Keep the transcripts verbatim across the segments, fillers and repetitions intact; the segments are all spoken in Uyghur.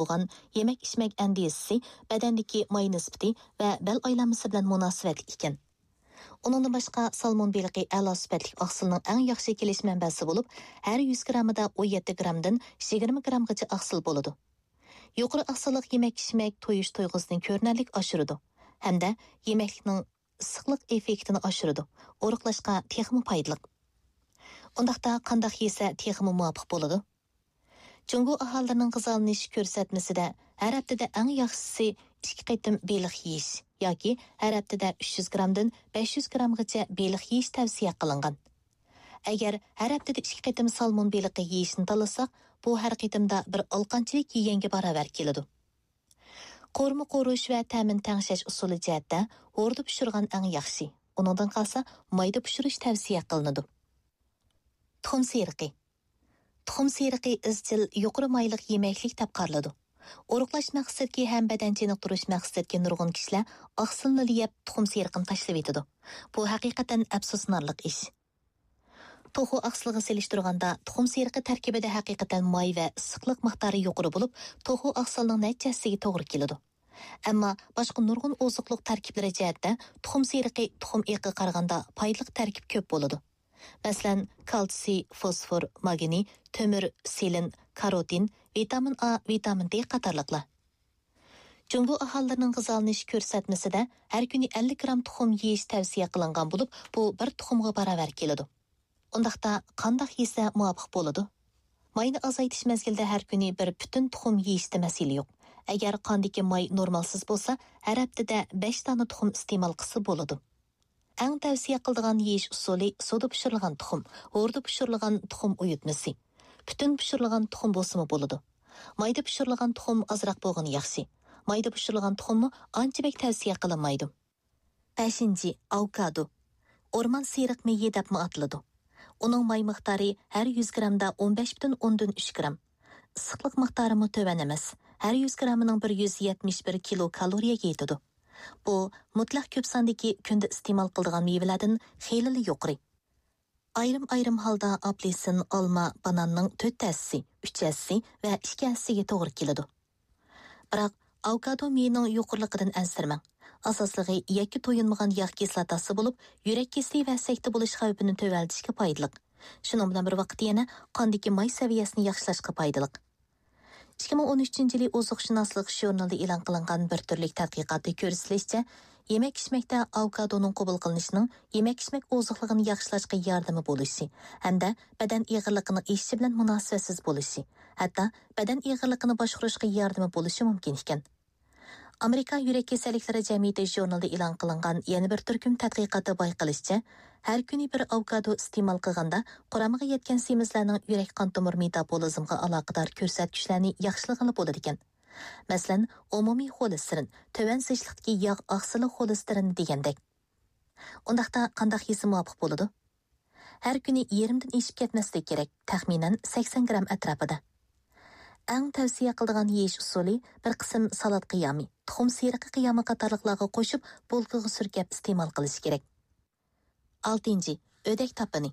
بولغان يېمەك-ئىچمەك ئەندىزىسى بەدەندىكى ماي نىسبىتى ۋە بەل ئايلانمىسى بىلەن مۇناسىۋەتلىك ئىكەن. ئۇنىڭدىن باشقا، سالمون بېلىقى ئەلا سۈپەتلىك ئاقسىلنىڭ ئەڭ ياخشى كېلىش مەنبەسى بولۇپ، ھەر يۈز گىراممىدا ئون يەتتە گىرامدىن يىگىرمە گىرامغىچە ئاقسىل بولىدۇ. يۇقىرى ئاقسىللىق يېمەك-ئىچمەك تويۇش تۇيغۇسىنى كۆرۈنەرلىك ئاشۇرىدۇ ھەمدە يېمەكلىكنىڭ ئىسسىقلىق ئېففېكتىنى ئاشۇرىدۇ، ئورۇقلاشقا تېخىمۇ پايدىلىق. ئۇنداقتا قانداق يېسە تېخىمۇ مۇۋاپىق بولىدۇ؟ جۇڭگو ئاھالىلىرىنىڭ غىزالىنىش كۆرسەتمىسىدە ھەر ھەپتىدە ئەڭ ياخشىسى ئىككى قېتىم بېلىق يېيىش ياكى ھەر ھەپتىدە ئۈچ يۈز گىرامدىن بەش يۈز گىرامغىچە بېلىق يېيىش تەۋسىيە قىلىنغان. ئەگەر ھەر ھەپتىدە ئىككى قېتىم سالمون بېلىقى يېيىشنى تاللىساق، بۇ ھەر قېتىمدا بىر ئالقانچىلىك يېگەنگە باراۋەر كېلىدۇ. قورۇما قورۇش ۋە تەمىنى تەڭشەش ئۇسۇلى جەھەتتە ھوردا پىشۇرغان ئەڭ ياخشى. ئۇنىڭدىن قالسا، مايدا پىشۇرۇش تەۋسىيە قىلىنىدۇ. تۇخۇم سېرىقى. تۇخۇم سېرىقى ئىزچىل يۇقىرى مايلىق يېمەكلىك دەپ قارىلىدۇ. ئورۇقلاش مەقسىتىدىكى ھەم بەدەن چېنىقتۇرۇش مەقسىتىدىكى نۇرغۇن كىشىلەر ئاقسىلنىلا يەپ، تۇخۇم سېرىقىنى تاشلىۋېتىدۇ. بۇ ھەقىقەتەن ئەپسۇسلىنارلىق ئىش. توخۇ ئاقسىلىغا سېلىشتۇرغاندا، تۇخۇم سېرىقى تەركىبىدە ھەقىقەتەن ماي ۋە ئىسسىقلىق مىقدارى يۇقىرى بولۇپ، توخۇ ئاقسىلنىڭ نەچچە ھەسسىگە توغرا كېلىدۇ. ئەمما باشقا نۇرغۇن ئوزۇقلۇق تەركىبلىرى جەھەتتە تۇخۇم سېرىقى تۇخۇم ئېقىغا قارىغاندا پايدىلىق تەركىب كۆپ بولىدۇ. مەسىلەن، كالتسىي، فوسفور، ماگنىي، تۆمۈر، سېلېن، كاروتىن، ۋىتامىن ئا، ۋىتامىن دې قاتارلىقلار. جۇڭگو ئاھالىلىرىنىڭ غىزالىنىش كۆرسەتمىسىدە ھەر كۈنى ئەللىك گرام تۇخۇم يېيىش تەۋسىيە قىلىنغان بولۇپ، بۇ بىر تۇخۇمغا باراۋەر كېلىدۇ. ئۇنداقتا قانداق يېسە مۇۋاپىق بولىدۇ؟ ماينى ئازايتىش مەزگىلىدە ھەر كۈنى بىر پۈتۈن تۇخۇم يېيىشتە مەسىلە يوق. ئەگەر قاندىكى ماي نورمالسىز بولسا، ھەر ھەپتىدە بەش دانە تۇخۇم ئىستېمال قىلسا بولىدۇ. ئەڭ تەۋسىيە قىلىدىغان يېيىش ئۇسۇلى سۇدا پىشۇرۇلغان تۇخۇم، ھوردا پىشۇرۇلغان تۇخۇم ئۇيۇتمىسى. پۈتۈن پىشۇرۇلغان تۇخۇم بولسىمۇ بولىدۇ. مايدا پىشۇرۇلغان تۇخۇم ئازراق بولغىنى ياخشى. مايدا پىشۇرۇلغان تۇخۇممۇ ئانچە بەك تەۋسىيە قىلىنمايدۇ. بەشىنچى، ئاۋوكادو. ئورمان سېرىق مېيى دەپمۇ ئاتىلىدۇ. ئۇنىڭ ماي مىقدارى ھەر يۈز گرامدا ئون بەش پۈتۈن ئوندىن ئۈچ گرام. ئىسسىقلىق مىقدارىمۇ تۆۋەن ئەمەس. ھەر يۈز گرامىنىڭ بىر يۈز يەتمىش بىر كىلو كالورىيەگە يېتىدۇ. بۇ مۇتلەق كۆپ ساندىكى كۈندە ئىستېمال قىلىدىغان مېۋىلەردىن خېلىلا يۇقىرى. ئايرىم-ئايرىم ھالدا ئاپېلسىن، ئالما، باناننىڭ تۆت ھەسسىسى، ئۈچ ھەسسىسى ۋە ئىككى ھەسسىسىگە توغرا كېلىدۇ. بىراق، ئاۋوكادو مېيىنىڭ يۇقىرىلىقىدىن ئەنسىرىمەڭ. ئاساسلىقى يەككە تويۇنمىغان ياغ كىسلاتاسى بولۇپ، يۈرەك كېسىلى ۋە سەكتە بولۇش خەۋپىنى تۆۋەنلىتىشكە پايدىلىق. شۇنىڭ بىلەن بىر ۋاقىتتا يەنە قاندىكى ماي سەۋىيەسىنى ياخشىلاشقا پايدىلىق. ئىككى مىڭ ئون ئۈچىنچى يىلى ئوزۇقشۇناسلىق ژۇرنىلىدا ئېلان قىلىنغان بىر تۈرلۈك تەتقىقاتتا كۆرسىتىلىشىچە، يېمەك-ئىچمەكتە ئاۋوكادونىڭ قوبۇل قىلىنىشىنىڭ يېمەك-ئىچمەك ئوزۇقلۇقىنى ياخشىلاشقا ياردىمى بولۇشى ھەمدە بەدەن ئېغىرلىقىنىڭ ئېشىشى بىلەن مۇناسىۋەتسىز بولۇشى، ھەتتا بەدەن ئېغىرلىقىنى باشقۇرۇشقا ياردىمى بولۇشى مۇمكىن ئىكەن. ئامېرىكا يۈرەك كېسەللىكلىرى جەمئىيىتى ژۇرنىلىدا ئېلان قىلىنغان يەنە بىر تۈركۈم تەتقىقاتتا بايقىلىشىچە، ھەر كۈنى بىر ئاۋوكادو ئىستېمال قىلغاندا، قۇرامىغا يەتكەن سېمىزلەرنىڭ يۈرەك قان تومۇر مېتابولىزمغا ئالاقىدار كۆرسەتكۈچلەرنى ياخشىلىغىلى بولىدىكەن. مەسىلەن، ئومۇمىي خولېستېرىن، تۆۋەن زىچلىقتىكى ياغ ئاقسىلى خولېستېرىنى دېگەندەك. ئۇنداقتا قانداق يېسە مۇۋاپىق بولىدۇ؟ ھەر كۈنى يېرىمدىن ئېشىپ كەتمەسلىكى كېرەك، تەخمىنەن سەكسەن گرام ئەتراپىدا. ئەڭ تەۋسىيە قىلىدىغان يېيىش ئۇسۇلى بىر قىسىم سالات قىيامى، تۇخۇم سېرىقى قىيامى قاتارلىقلارغا قوشۇپ، بولكىغا سۈركەپ ئىستېمال قىلىش كېرەك. ئالتىنچى، ئۆدەك تاپىنى.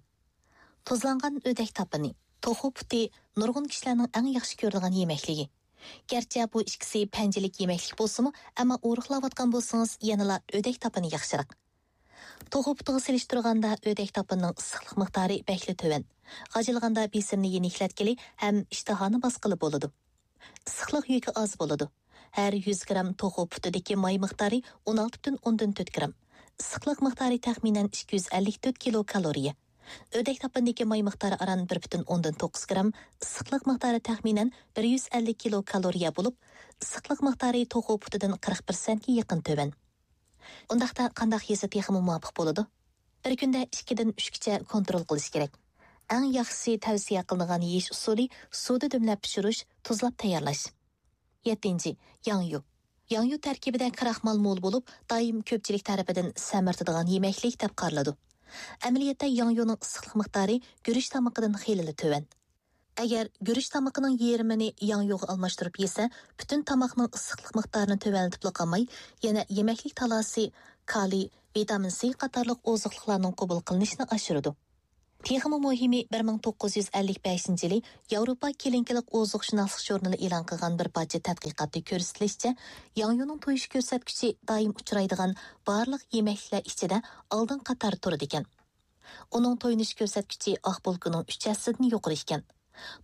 تۇزلانغان ئۆدەك تاپىنى، توخۇ پۇتى نۇرغۇن كىشىلەرنىڭ ئەڭ ياخشى كۆرىدىغان يېمەكلىكى. گەرچە بۇ ئىككىسى پەنجىلىك يېمەكلىك بولسىمۇ، ئەمما ئورۇقلاۋاتقان بولسىڭىز، يەنىلا ئۆدەك تاپىنى ياخشىراق. توخۇ پۇتىغا سېلىشتۇرغاندا ئۆدەك تاپىنىنىڭ ئىسسىقلىق مىقدارى بەكلا تۆۋەن. غاجىلىغاندا بېسىمنى يېنىكلەتكىلى ھەم ئىشتىھانى باسقىلى بولىدۇ. ئىسسىقلىق يۈكى ئاز بولىدۇ. ھەر يۈز گرام توخۇ پۇتىدىكى ماي مىقدارى ئون ئالتە پۈتۈن ئوندىن تۆت گرام. ئىسسىقلىق مىقدارى تەخمىنەن ئىككى يۈز ئەللىك تۆت كىلو كالورىيە. ئۆدەك تاپىنىدىكى ماي مىقدارى ئاران بىر پۈتۈن ئوندىن توققۇز گرام، ئىسسىقلىق مىقدارى تەخمىنەن بىر يۈز ئەللىك كىلو كالورىيە بولۇپ، ئىسسىقلىق مىقدارى توخۇ پۇتىدىن قىرىق پىرسەنتكە يېقىن تۆۋەن. ئۇنداقتا قانداق يېسە تېخىمۇ مۇۋاپىق بولىدۇ؟ بىر كۈندە ئىككىدىن ئۈچكىچە كونترول قىلىش كېرەك. ئەڭ ياخشىسى تەۋسىيە قىلىنغان يېيىش ئۇسۇلى سۇدا دۈملەپ پىشۇرۇش، تۇزلاپ تەييارلاش. يەتتىنچى، ياڭيۇ. ياڭيۇ تەركىبىدە كراخمال مول بولۇپ، دائىم كۆپچىلىك تەرىپىدىن سەمرىتىدىغان يېمەكلىك دەپ قارىلىدۇ. ئەمەلىيەتتە ياڭيۇنىڭ ئىسسىقلىق مىقدارى گۈرۈچ تامىقىدىن خېلىلا تۆۋەن. ئەگەر گۈرۈچ تامىقىنىڭ يېرىمىنى ياڭيۇغا ئالماشتۇرۇپ يېسە، پۈتۈن تاماقنىڭ ئىسسىقلىق مىقدارىنى تۆۋەنلىتىپلا قالماي، يەنە يېمەكلىك تالاسى، كالىي، ۋىتامىن سى قاتارلىق ئوزۇقلۇقلارنىڭ قوبۇل قىلىنىشىنى ئاشۇرىدۇ. تېخىمۇ مۇھىمى، بىر مىڭ توققۇز يۈز ئەللىك بەشىنچى يىلى ياۋروپا كېلىنكىلىق ئوزۇقشۇناسلىق ژۇرنىلى ئېلان قىلغان بىر پارچە تەتقىقاتتا كۆرسىتىلىشىچە، ياڭيۇنىڭ تويۇش كۆرسەتكۈچى دائىم ئۇچرايدىغان بارلىق يېمەكلىكلەر ئىچىدە ئالدىنقى قاتاردا تۇرىدىكەن. ئۇنىڭ تويۇنۇش كۆرسەتكۈچى ئاق بولكىنىڭ ئۈچ ھەسسىدىن يۇقىرى ئىكەن.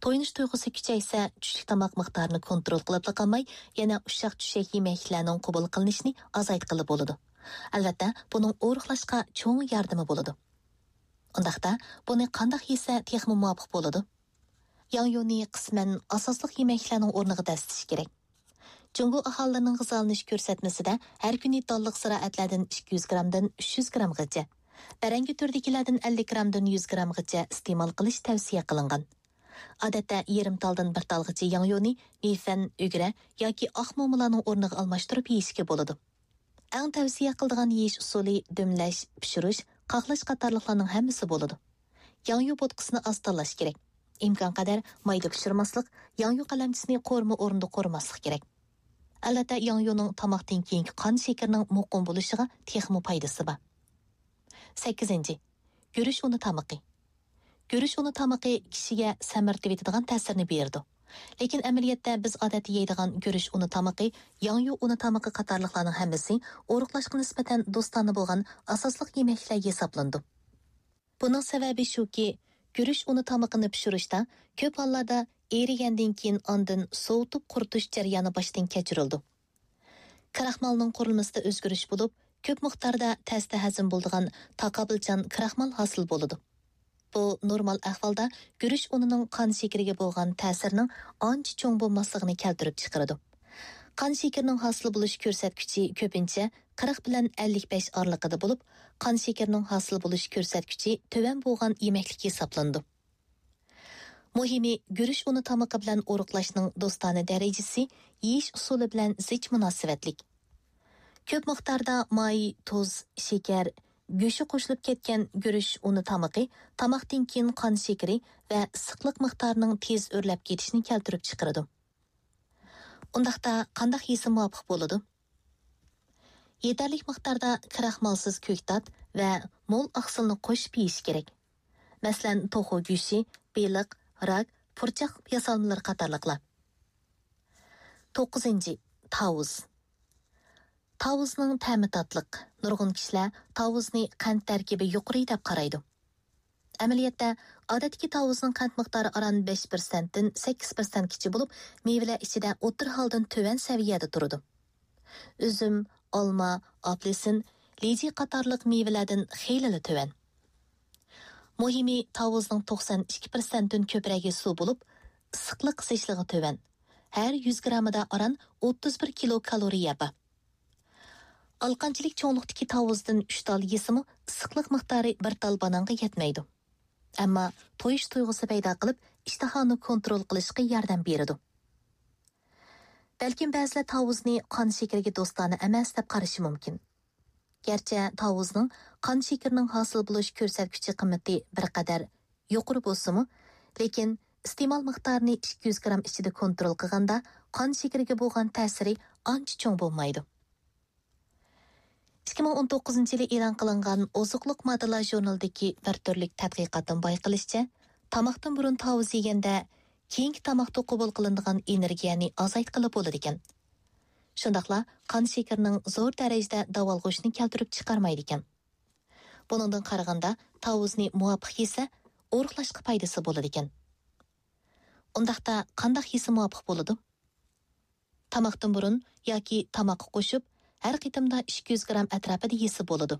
تويۇنۇش تۇيغۇسى كۈچەيسە، چۈشلۈك تاماق مىقدارىنى كونترول قىلىپلا قالماي، يەنە ئۇششاق-چۈششەك يېمەكلىكلەرنىڭ قوبۇل قىلىنىشىنى ئازايتقىلى بولىدۇ. ئەلۋەتتە، بۇنىڭ ئورۇقلاشقا چوڭ ياردىمى بولىدۇ. ئۇنداقتا، بۇنى قانداق يېسە تېخىمۇ مۇۋاپىق بولىدۇ؟ ياڭيۇنى قىسمەن ئاساسلىق يېمەكلىكلەرنىڭ ئورنىغا دەسسىتىش كېرەك. جۇڭگو ئاھالىلىرىنىڭ غىزالىنىش كۆرسەتمىسىدە ھەر كۈنى تاللىق زىرائەتلەردىن ئىككى يۈز گرامدىن ئۈچ يۈز گرامغىچە، بەرەڭگە تۈرىدىكىلەردىن ئەللىك گرامدىن يۈز گرامغىچە ئىستېمال قىلىش تەۋسىيە قىلىنغان. ئادەتتە يېرىم تالدىن بىر تالغىچە ياڭيۇنى مېيفەن، ئۈگرە ياكى ئاق مومىلارنىڭ ئورنىغا ئالماشتۇرۇپ يېيىشكە بولىدۇ. ئەڭ تەۋسىيە قىلىدىغان يېيىش ئۇسۇلى دۈملەش، پىشۇرۇش، قاقلاش قاتارلىقلارنىڭ ھەممىسى بولىدۇ. ياڭيۇ بوتقىسىنى ئاز تاللاش كېرەك. ئىمكانقەدەر مايدا پىشۇرماسلىق، ياڭيۇ قەلەمچىسىنى قورۇما ئورنىدا قورۇماسلىق كېرەك. ئەلۋەتتە، ياڭيۇنىڭ تاماقتىن كېيىنكى قان شېكىرىنىڭ مۇقىم بولۇشىغا تېخىمۇ پايدىسى بار. سەككىزىنچى، گۈرۈچ ئۇنى تامىقى. گۈرۈچ ئۇنى تامىقى كىشىگە سەمرىتىۋېتىدىغان تەسىرنى بېرىدۇ. لېكىن ئەمەلىيەتتە بىز ئادەتتە يەيدىغان گۈرۈچ ئۇنى تامىقى، ياڭيۇ ئۇنى تامىقى قاتارلىقلارنىڭ ھەممىسى ئورۇقلاشقا نىسبەتەن دوستانە بولغان ئاساسلىق يېمەكلىكلەر ھېسابلىنىدۇ. بۇنىڭ سەۋەبى شۇكى، گۈرۈچ ئۇنى تامىقىنى پىشۇرۇشتا كۆپ ھاللاردا ئېرىگەندىن كېيىن ئاندىن سوۋۇتۇپ قۇرۇتۇش جەريانى باشتىن كەچۈرۈلىدۇ. كراخمالنىڭ قۇرۇلمىسىدا ئۆزگىرىش بولۇپ، كۆپ مىقداردا تەستە ھەزىم بولىدىغان تاقابىلچان كراخمال ھاسىل بولىدۇ. بۇ نورمال ئەھۋالدا گۈرۈچ ئۇنىنىڭ قان شېكىرىگە بولغان تەسىرىنىڭ ئانچە چوڭ بولماسلىقىنى كەلتۈرۈپ چىقىرىدۇ. قان شېكىرىنىڭ ھاسىل بولۇش كۆرسەتكۈچى كۆپىنچە قىرىق بىلەن ئەللىك بەش ئارىلىقىدا بولۇپ، قان شېكىرىنىڭ ھاسىل بولۇش كۆرسەتكۈچى تۆۋەن بولغان يېمەكلىك ھېسابلىنىدۇ. مۇھىمى، گۈرۈچ ئۇنى تامىقى بىلەن ئورۇقلاشنىڭ دوستانە دەرىجىسى يېيىش ئۇسۇلى بىلەن زىچ مۇناسىۋەتلىك. كۆپ مىقداردا ماي، تۇز، شېكەر، گۆشى قوشۇلۇپ كەتكەن گۈرۈچ ئۇنى تامىقى تاماقتىن كېيىن قان شېكىرى ۋە ئىسسىقلىق مىقدارىنىڭ تېز ئۆرلەپ كېتىشىنى كەلتۈرۈپ چىقىرىدۇ. ئۇنداقتا قانداق يېسە مۇۋاپىق بولىدۇ؟ يېتەرلىك مىقداردا كراخمالسىز كۆكتات ۋە مول ئاقسىلنى قوشۇپ يېيىش كېرەك. مەسىلەن، توخۇ گۆشى، بېلىق، راك، پۇرچاق ياسالمىلىرى قاتارلىقلار. توققۇزىنچى، تاۋۇز. تاۋۇزنىڭ تەمى تاتلىق. نۇرغۇن كىشىلەر تاۋۇزنى قەنت تەركىبى يۇقىرى دەپ قارايدۇ. ئەمەلىيەتتە، ئادەتتىكى تاۋۇزنىڭ قەنت مىقدارى ئاران بەش پىرسەنتتىن سەككىز پىرسەنتكىچە بولۇپ، مېۋىلەر ئىچىدە ئوتتۇرا ھالدىن تۆۋەن سەۋىيەدە تۇرىدۇ. ئۈزۈم، ئالما، ئاپېلسىن، لىجى قاتارلىق مېۋىلەردىن خېلىلا تۆۋەن. مۇھىمى، تاۋۇزنىڭ توقسان ئىككى پىرسەنتتىن كۆپرەكى سۇ بولۇپ، ئىسسىقلىق زىچلىقى تۆۋەن. ھەر يۈز گرامىدا ئاران ئوتتۇز بىر كىلو كالورىيە بار. ئالىقانچىلىك چوڭلۇقتىكى تاۋۇزدىن ئۈچ تال يېسىمۇ، ئىسسىقلىق مىقدارى بىر تال بانانغا يەتمەيدۇ. ئەمما تويۇش تۇيغۇسى پەيدا قىلىپ، ئىشتىھانى كونترول قىلىشقا ياردەم بېرىدۇ. بەلكىم بەزىلەر تاۋۇزنى قان شېكىرىگە دوستانە ئەمەس دەپ قارىشى مۇمكىن. گەرچە تاۋۇزنىڭ قان شېكىرىنىڭ ھاسىل بولۇش كۆرسەتكۈچى قىممىتى بىر قەدەر يۇقىرى بولسىمۇ، لېكىن ئىستېمال مىقدارىنى ئىككى يۈز گرام ئىچىدە كونترول قىلغاندا، قان شېكىرىگە بولغان تەسىرى ئانچە چوڭ بولمايدۇ. ئىككى مىڭ ئون توققۇزىنچى يىلى ئېلان قىلىنغان ئوزۇقلۇق ماددىلار ژۇرنىلىدىكى بىر تۈرلۈك تەتقىقاتتىن بايقىلىشىچە، تاماقتىن بۇرۇن تاۋۇز يېگەندە، كېيىنكى تاماقتا قوبۇل قىلىنىدىغان ئېنېرگىيەنى ئازايتقىلى بولىدىكەن. شۇنداقلا قان شېكىرىنىڭ زور دەرىجىدە داۋالغۇشنى كەلتۈرۈپ چىقارمايدىكەن. بۇنىڭدىن قارىغاندا، تاۋۇزنى مۇۋاپىق يېسە، ئورۇقلاشقا پايدىسى بولىدىكەن. ئۇنداقتا قانداق يېسە مۇۋاپىق بولىدۇ؟ تاماقتىن بۇرۇن ياكى تاماققا قوشۇپ، ھەر قېتىمدا ئىككى يۈز گرام ئەتراپىدا يېسە بولىدۇ.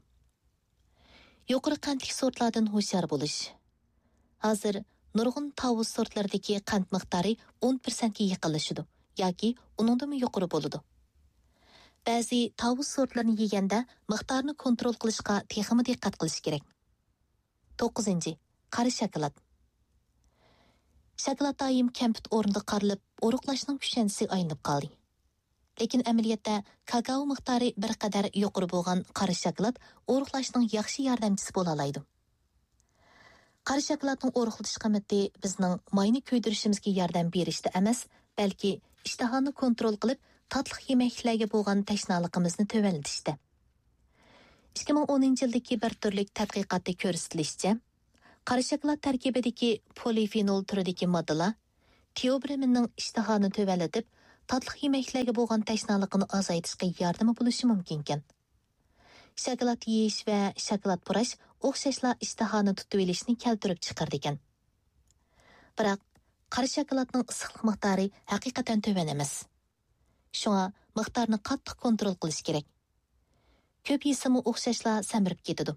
يۇقىرى قەنتلىك سورتلاردىن ھوشيار بولۇش. ھازىر نۇرغۇن تاۋۇز سورتلىرىدىكى قەنت مىقدارى ئون پىرسەنتكە يېقىنلىشىدۇ ياكى ئۇنىڭدىنمۇ يۇقىرى بولىدۇ. بەزى تاۋۇز سورتلىرىنى يېگەندە مىقدارنى كونترول قىلىشقا تېخىمۇ دىققەت قىلىش كېرەك. توققۇزىنچى، قارا شاكىلات. شاكىلات دائىم كەمپۈت ئورنىدا قارىلىپ، ئورۇقلاشنىڭ كۈشەندىسىگە ئايلىنىپ قالدى. لېكىن ئەمەلىيەتتە كاكائو مىقدارى بىر قەدەر يۇقىرى بولغان قارا شاكىلات ئورۇقلاشنىڭ ياخشى ياردەمچىسى بولالايدۇ. قارا شاكىلاتنىڭ ئورۇقلىتىش قىممىتى بىزنىڭ ماينى كۆيدۈرۈشىمىزگە ياردەم بېرىشتە ئەمەس، بەلكى ئىشتىھانى كونترول قىلىپ، تاتلىق يېمەكلىكلەرگە بولغان تەشنالىقىمىزنى تۆۋەنلىتىشتە. ئىككى مىڭ ئونىنچى يىلدىكى بىر تۈرلۈك تەتقىقاتتا كۆرسىتىلىشىچە، قارا شاكىلات تەركىبىدىكى پولىفېنول تۈرىدىكى ماددىلار تېئوبرېمىننىڭ ئىشتىھانى تۆۋەنلىتىپ، تاتلىق يېمەكلەرگە بولغان تەشنالىقىنى ئازايتىشقا ياردىمى بولۇشى مۇمكىنكەن. شاكىلات يېيىش ۋە شاكىلات پۇراش ئوخشاشلا ئىشتىھانى تۇتۇۋېلىشنى كەلتۈرۈپ چىقىرىدىكەن. بىراق، قارا شاكىلاتنىڭ ئىسسىقلىق مىقدارى ھەقىقەتەن تۆۋەن ئەمەس. شۇڭا مىقدارنى قاتتىق كونترول قىلىش كېرەك. كۆپ يېسىمۇ ئوخشاشلا سەمرىپ كېتىدۇ.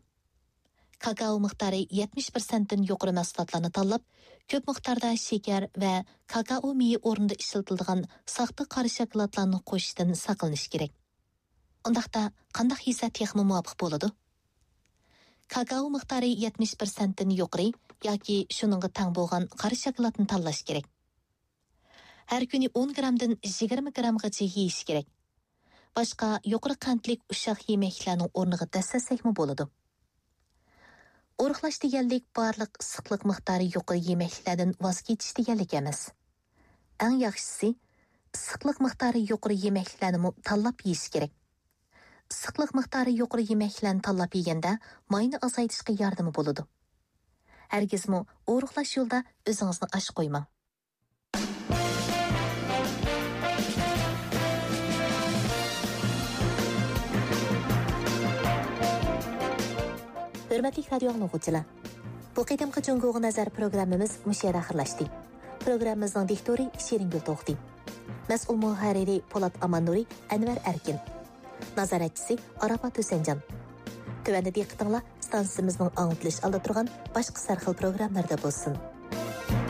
كاكائو مىقدارى يەتمىش پىرسەنتتىن يۇقىرى مەھسۇلاتلارنى تاللاپ، كۆپ مىقداردا شېكەر ۋە كاكائو مېيى ئورنىدا ئىشلىتىلىدىغان ساختا قارا شاكىلاتلارنى قوشۇشتىن ساقلىنىش كېرەك. ئۇنداقتا قانداق يېسە تېخىمۇ مۇۋاپىق بولىدۇ؟ كاكائو مىقدارى يەتمىش پىرسەنتتىن يۇقىرى ياكى شۇنىڭغا تەڭ بولغان قارا شاكىلاتنى تاللاش كېرەك. ھەر كۈنى ئون گرامدىن يىگىرمە گرامغىچە يېيىش كېرەك. باشقا يۇقىرى قەنتلىك ئۇششاق يېمەكلىكلەرنىڭ ئورنىغا دەسسەتسەكمۇ بولىدۇ. ئورۇقلاش دېگەنلىك بارلىق ئىسسىقلىق مىقدارى يۇقىرى يېمەكلىكلەردىن ۋاز كېچىش دېگەنلىك ئەمەس. ئەڭ ياخشىسى، ئىسسىقلىق مىقدارى يۇقىرى يېمەكلىكلەرنىمۇ تاللاپ يېيىش كېرەك. ئىسسىقلىق مىقدارى يۇقىرى يېمەكلىكلەرنى تاللاپ يېگەندە ماينى ئازايتىشقا ياردىمى بولىدۇ. ھەرگىزمۇ ئورۇقلاش يولىدا ئۆزىڭىزنى ئاچ قويماڭ. ھۆرمەتلىك رادىيو ئاڭلىغۇچىلار، بۇ قېتىمقى جۇڭگوغا نەزەر پروگراممىمىز مۇشۇ يەردە ئاخىرلاشتى. پروگراممىمىزنىڭ دىكتورى شېرىنگۈل توختى. مەسئۇل مۇھەررىرى پولات ئاماننۇرى، ئەنۋەر ئەركىن. نازارەتچىسى ئاراپات ھۈسەنجان. تۆۋەندە دىققىتىڭلار ئىستانسىمىزنىڭ ئاڭلىتىلىش ئالدىدا تۇرغان باشقا سەرخىل پروگراممىلىرىدا بولسۇن.